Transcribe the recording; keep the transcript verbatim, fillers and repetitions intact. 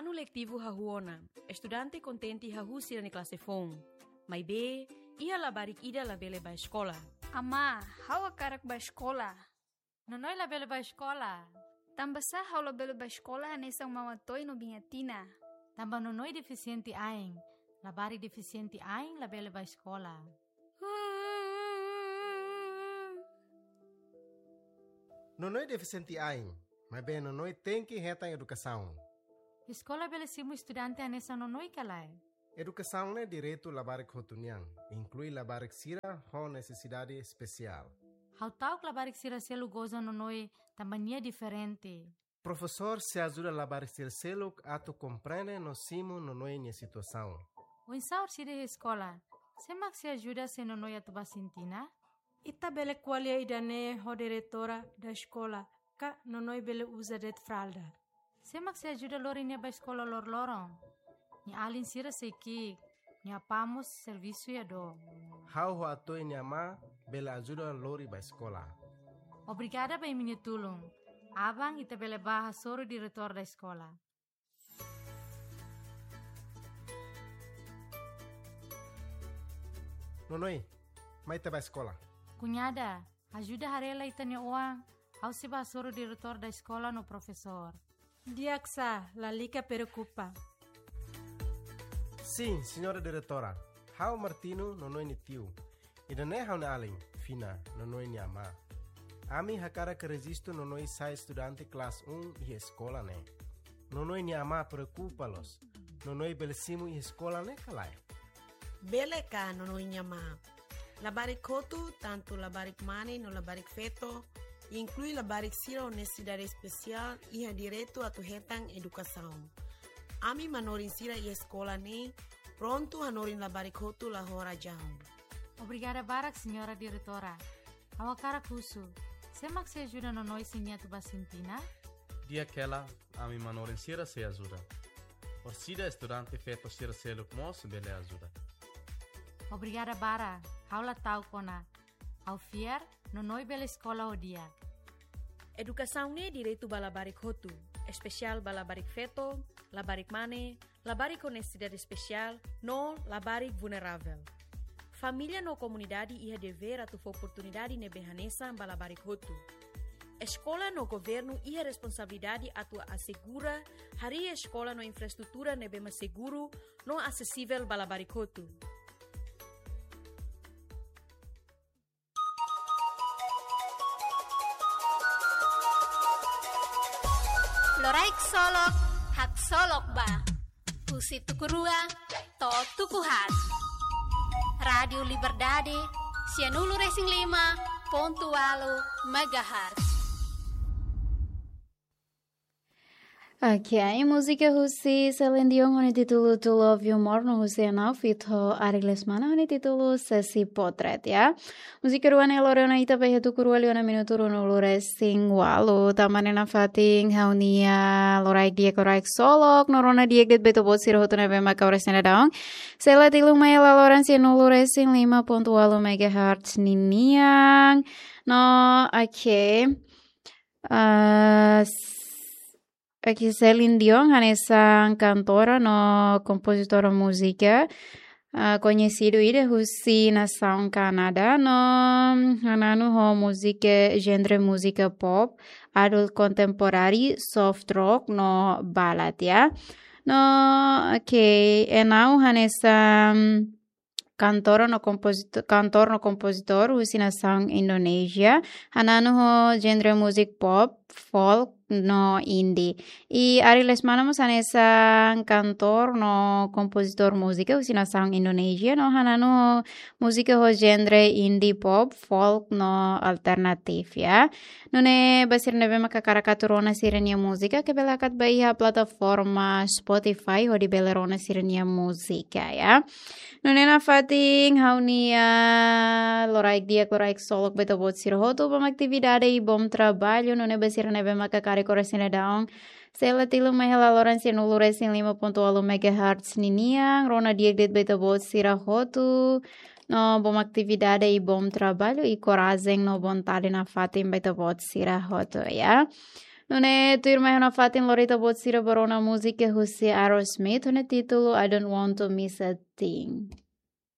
Anu letivu hahú ona, estudante kontente hahú sira-nia klase foun. Maibé, iha labarik ida labele bá eskola. Amá, ha'u hakarak bá eskola. Nonoi labele bá eskola. Tanbasá ha'u labele bá eskola hanesan Mama Toy no Biña Tina? Tanba Nonoi defisiente ain. Labarik defisiente ain labele bá eskola. Nonoi defisiente ain, maibé Nonoi tenke hetan edukasaun. Eskola bele simu estudante hanesan Nonoi ka lae? Edukasaun ne'e direitu labarik hotu nian, inklui labarik sira ho nesesidade espesiál. Ha'u ta'uk labarik sira seluk goza Nonoi tanba nia diferente. Profesór sei ajuda labarik sira seluk atu komprende no simu Nonoi nia situasaun. Oinsá orsida iha eskola? Sé mak sei ajuda se Nonoi atu bá sintina? Ita bele ko'alia ida-ne'e ho diretora da eskola, ka Nonoi bele uza de'it fralda. Sé mak sei ajuda lori nia bá eskola loroloron? Nia alin sira sei ki'ik, nia apá mós servisu iha dook. Ha'u ho Atoy nia amá bele ajuda lori bá eskola. Obrigada ba imi-nia tulun. Aban ita bele bá hasoru diretór da eskola. Nonoi, mai ita bá eskola. Kuñada, ajuda haree lai ita-nia oan, ha'u sei bá hasoru diretór da eskola no profesór. Di'ak sá, lalika preokupa. Sin, señora diretora. Ha'u Martino, Nonoi nia tiu. Ida-ne'e ha'u-nia alin, Fina, Nonoi nia amá. Ami hakarak rejistu Nonoi sai estudante klase un iha eskola ne'e. Nonoi nia amá preokupa loos. Nonoi bele simu iha eskola ne'e ka lae? Bele ka, Nonoi nia amá. Labarik hotu, tantu labarik mane no labarik feto, inklui labarik sira ho nesesidade espesiál, iha direitu atu hetan edukasaun. Ami manorin sira iha eskola ne'e prontu hanorin labarik hotu la ho razaun. Obrigada barak, señora diretora. Ha'u hakarak husu, sé mak sei ajuda Nonoi se nia atu bá sintina? Di'ak hela, ami manorin sira sei ajuda. Orsida estudante feto sira seluk mós bele ajuda. Obrigada barak, ha'u la ta'uk ona. Ha'u fiar, Nonoi bele eskola ho di'ak. Edukasaun ne'e direitu ba labarik hotu, espesiál ba labarik feto, labarik mane, labarik ho nesesidade espesiál, no labarik vulneravel. Família no komunidade iha devér atu fó oportunidade ne'ebé hanesan ba labarik hotu. Eskola no governu iha responsabilidade atu asegura harii eskola no infraestrutura ne'ebé mak seguru no asesivel ba labarik hotu. Loraik Solok, haksolok ba. Husi tuku rua to'o tuku haat. Rádiu Liberdade, sianulu resin lima pontu ualu megahertz. Oke, múzika husi Celine Dion ho nia títulu To Love You More no husi Enau feat ho Ari Lesmana ho nia títulu Sesi Potret, ya. Múzika rua ne'e lori ona ita ba iha tuku rua liu ona minutu ruanulu resin ualu. Tanba ne'e nafatin ha'u-nia loraik di'ak, loraik solok no rona di'ak de'it ba ita-boot sira hotu ne'ebé maka oras ne'e daudaun sei la tilun mai hela loron sianulu resin lima pontu ualu megahertz ninian. No, oke. Ah, s-, oke, Celine Dion hanesan kantora no kompozitora múzika, ah, koñesidu ida husi nasaun Kanadá no hananu ho múzika genre múzika pop, adult contemporary, soft rock no ballad, ya. No, oke, Enau hanesan kantora no kompozito-, kantor no kompozitór husi nasaun Indonézia, hananu ho genre múzika pop, folk no indie. I Ari Lesmana mós hanesan kantor no kompozitór múzika husi nasaun Indonézia no hananu ho múzika ho genre indie pop, folk no alternatif, ya. Nune'e ba sira ne'ebé maka hakarak atu rona sira-nia múzika, ke bele hakat ba iha plataforma Spotify hodi bele rona sira-nia múzika, ya. Nune'e nafatin ha'u-nia loraik di'ak, loraik solok ba ita-boot sira hotu, bom atividade i bom trabalho. Nune'e ba sira ne'ebé maka karik oras ne'e daudaun sei la tilun mai hela loron sianulu resin lima pontu ualu megahertz ninian, rona di'ak de'it ba ita-boot sira hotu. No, bom atividade i bom trabalho i korajen no vontade nafatin ba ita-boot sira hotu, ya. Nune'e tuirmai ha'u-nia fatin lori ita-boot sira ba rona múzika husi Aerosmith ho nia títulu I Don't Want to Miss a Thing.